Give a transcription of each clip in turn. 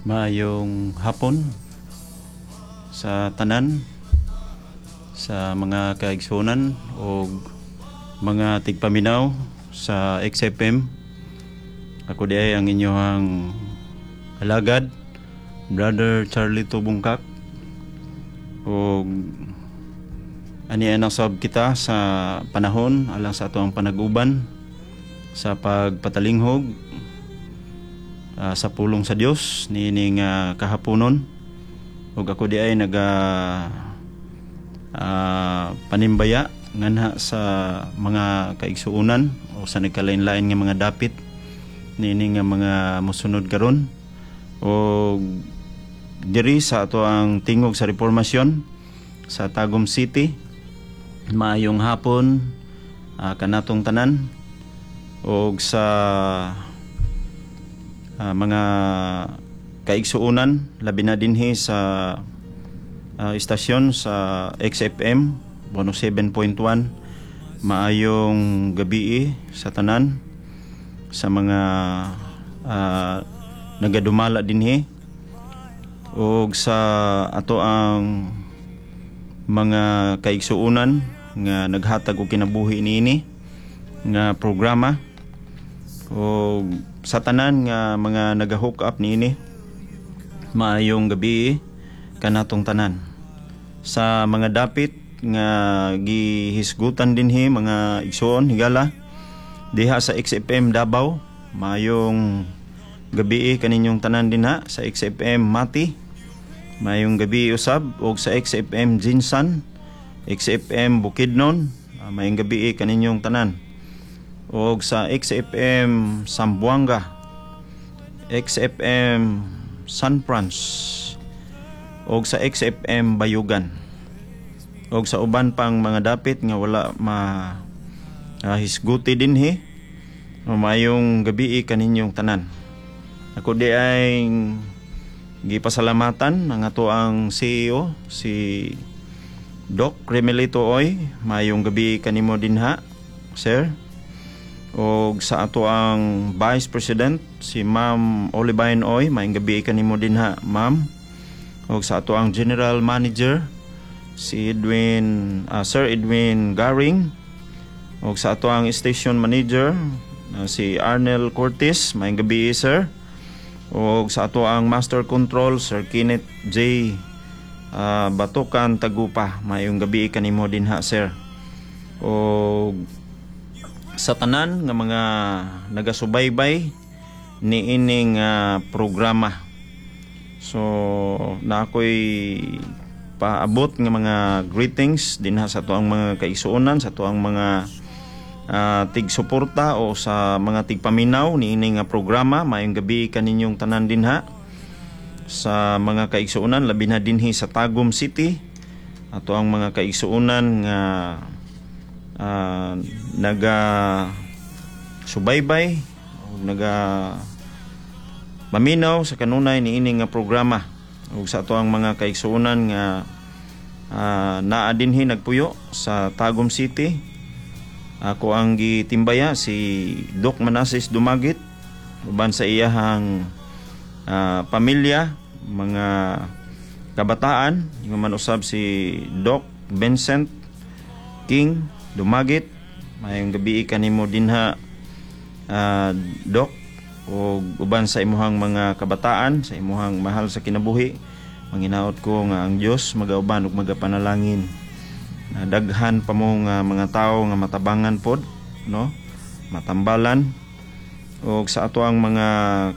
Maayong hapon sa tanan, sa mga kaigsuonan o mga tigpaminaw sa XFM. Ako diay ang inyong alagad, Brother Charlie Tubungkak. O ani na sab kita sa panahon alang sa atoang panaguban sa pagpatalinghog sa pulong sa Dios niining kahaponon. Ug ako diay naga panimbaya nganha sa mga kaigsuonan o sa nagkalain-lain nga mga dapit niini nga mga mosunod karon og diri sa atoang Tingog sa Reformasyon sa Tagum City. Maayong hapon kanatong tanan og sa mga kaigsuonan, labi na dinhi sa istasyon sa XFM 107.1. Maayong gabii sa tanan, sa mga nagadumala dinhi og sa atoang mga kaigsuonan nga naghatag og kinabuhi niini nga programa og sa tanan nga mga naga-hook up niini. Maayong gabii kanatong tanan sa mga dapit nga gihisgutan dinhi. Mga igsuon, higala diha sa XFM Davao, maayong gabii kaninyong tanan dinha. Sa XFM Mati, maayong gabii usab, og sa XFM GenSan, XFM Bukidnon, maayong gabii kaninyong tanan, og sa XFM Zamboanga, XFM San Franz og sa XFM Bayugan og sa uban pang mga dapit nga wala ma hisguti dinhi, maayong gabii kaninyong tanan. Ako diay gipasalamatan ang atoang CEO, si Doc Remelito Oy. Maayong gabii kanimo dinha, sir, og sa atoang Vice President, si Ma'am Olivine Oy. Maayong gabii kanimo dinha, ma'am, og sa atoang General Manager, si Edwin Sir Edwin Garing, og sa atoang Station Manager, si Arnel Cortez. Maayong gabii, sir, og sa atoang Master Control, Sir Kenneth J. Batukan Tagupa. Maayong gabii kanimo dinha, sir, og sa tanan nga mga nagasubaybay niining programa. So na ako'y paabot nga mga greetings dinha sa atoang mga kaigsuonan, sa atoang mga tigsuporta o sa mga tigpaminaw niini nga programa. Maayong gabii kaninyong tanan dinha sa mga kaigsuonan, labi na dinhi sa Tagum City, atoang mga kaigsuonan nga naga subaybay o naga maminaw sa kanunay niini nga programa, ug sa atoang mga kaigsuonan nga naa dinhi nagpuyo sa Tagum City. Ako ang gitimbaya si Doc Manases Dumagit uban sa iyahang pamilya, mga kabataan, ingon man usab si Doc Vincent King Dumagit. Maayong gabii kanimo dinha, Doc, ug uban sa imuhang mga kabataan, sa imuhang mahal sa kinabuhi. Manginaot ko nga ang Dios magauban ug magapanalangin na daghan pa mo nga mga tawo nga matabangan pod, no, matambalan. Og sa atoang mga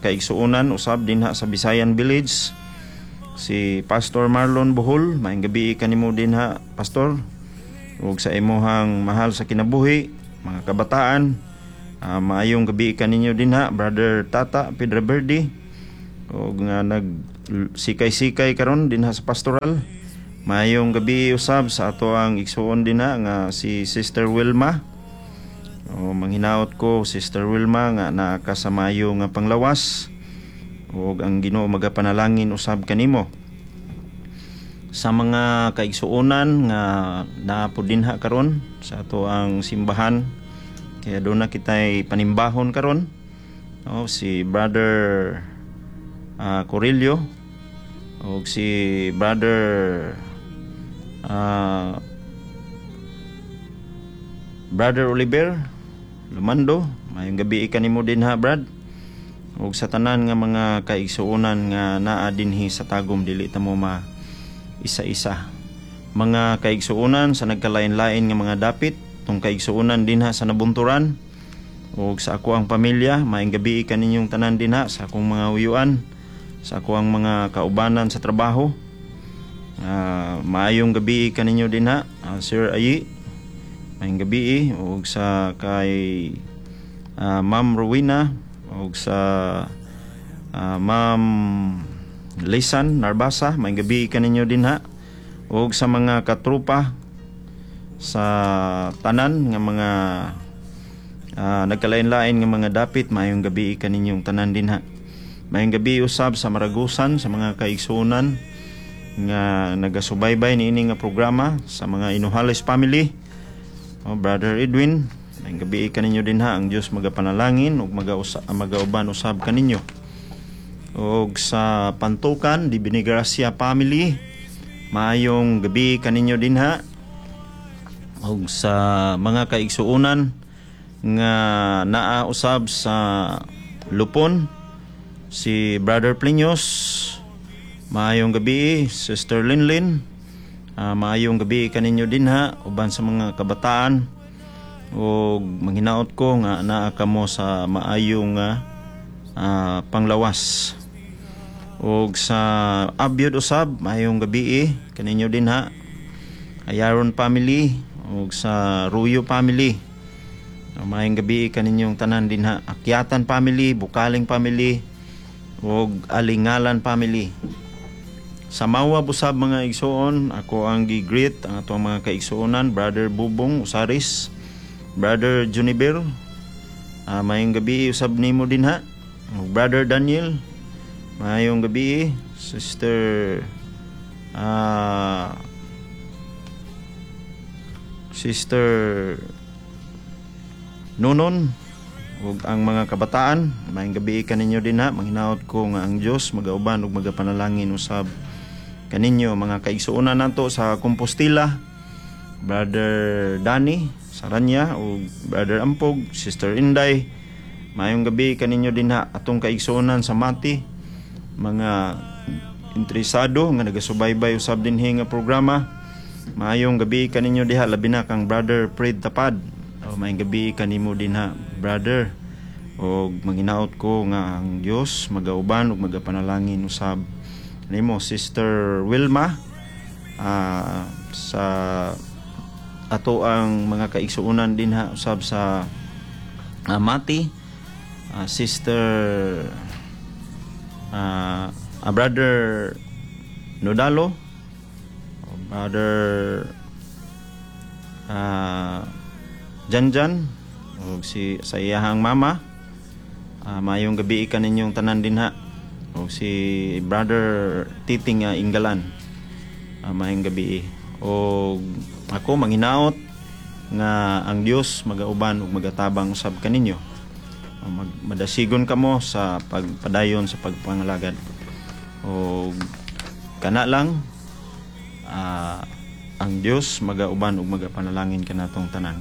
kaigsuonan usab dinha sa Bisayan Village, si Pastor Marlon Bohol. Maayong gabii kanimo dinha, Pastor, ug sa imuhang mahal sa kinabuhi, mga kabataan. Maayong gabii kaninyo dinha, Brother Tata Pedro Verde, ug nga nag sikay-sikay karon dinha sa pastoral. Maayong gabii usab sa atoang igsuon dinha nga si Sister Wilma. O manghinaot ko, Sister Wilma, nga naa ka sa maayo nga panglawas ug ang Ginoo magapanalangin usab kanimo. Sa mga kaigsuonan nga naa po dinha karon sa atoang simbahan, kaya duna kitay panimbahon karon. O si Brother Corillo ug si Brother Brother Oliver Lumando, maayong gabi kanimo dinha, Brad. Ug sa tanan nga mga kaigsuonan nga naa dinhi sa Tagum, dili ta mo ma isa-isa. Mga kaigsuonan sa nagkalain-lain nga mga dapit, tong kaigsuonan dinha sa Nabunturan ug sa ako ang pamilya, maayong gabi kaninyong tanan dinha sa akong mga uyuan, sa ako ang mga kaubanan sa trabaho. Maayong gabi kaninyo dinha, Sir Ayi. Maayong gabi ug sa kay Ma'am Rowena ug sa Ma'am Lisan Narbasa, maayong gabi kaninyo dinha ug sa mga katrupa sa tanan nga mga nagkalain-lain nga mga dapit, maayong gabi kaninyong tanan dinha. Maayong gabi usab sa Maragusan, sa mga kaigsuonan nga nagasubaybay niini nga programa, sa mga Inuhales family. Oh, Brother Edwin, maayong gabi kaninyo dinha. Ang Dios magapanalangin ug magauban usab kaninyo. Og sa Pantukan, di Benigracia family, maayong gabi kaninyo dinha. Og sa mga kaigsuonan nga naa usab sa Lupon, si Brother Plinius, maayong gabi. Sister Linlin, maayong gabi kaninyo dinha uban sa mga kabataan ug manghinaot ko nga naa kamo sa maayong panglawas. Ug sa Abyod usab, maayong gabi kaninyo dinha. Ayaron family ug sa Ruyo family, maayong gabi kaninyong tanan dinha. Akyatan family, Bukaling family ug Alingalan family. Sa Mawab usab, mga igsuon, ako ang gi-greet ang atong mga kaigsuonan, Brother Bubong Usaris, Brother Juniber, maayong gabi usab nimo dinha. Ug Brother Daniel, maayong gabi. Sister Nunon ug ang mga kabataan, maayong gabi kaninyo dinha. Manghinaot ko nga ang Dios magauban ug magapanalangin usab kaninyo. Mga kaigsuonan nato sa Compostela, Brother Danny Saranya ug Brother Ampog, Sister Inday, maayong gabi kaninyo dinha. Atong kaigsuonan sa Mati, mga interesado nga nagasubaybay usab dinhi nga programa, maayong gabi kaninyo diha, labi na kang Brother Fred Tapad. O, maayong gabi kanimo dinha, brother. Og manghinaot ko nga ang Dios magauban ug magapanalangin usab nimo. Sister Wilma, sa ato ang mga kaigsuonan dinha usab sa Mati, Sister Brother Nodalo, Brother Janjan ug si sa iyahang mama, maayong gabi kaninyong tanan dinha. Ug si Brother Titing Ingalan, maayong gabi. Og ako manghinaot nga ang Dios magauban ug magatabang usab kaninyo. Madasigon kamo sa pagpadayon sa pagpangalagad. Og kana lang, ang Dios magauban ug magapanalangin kanatong tanan.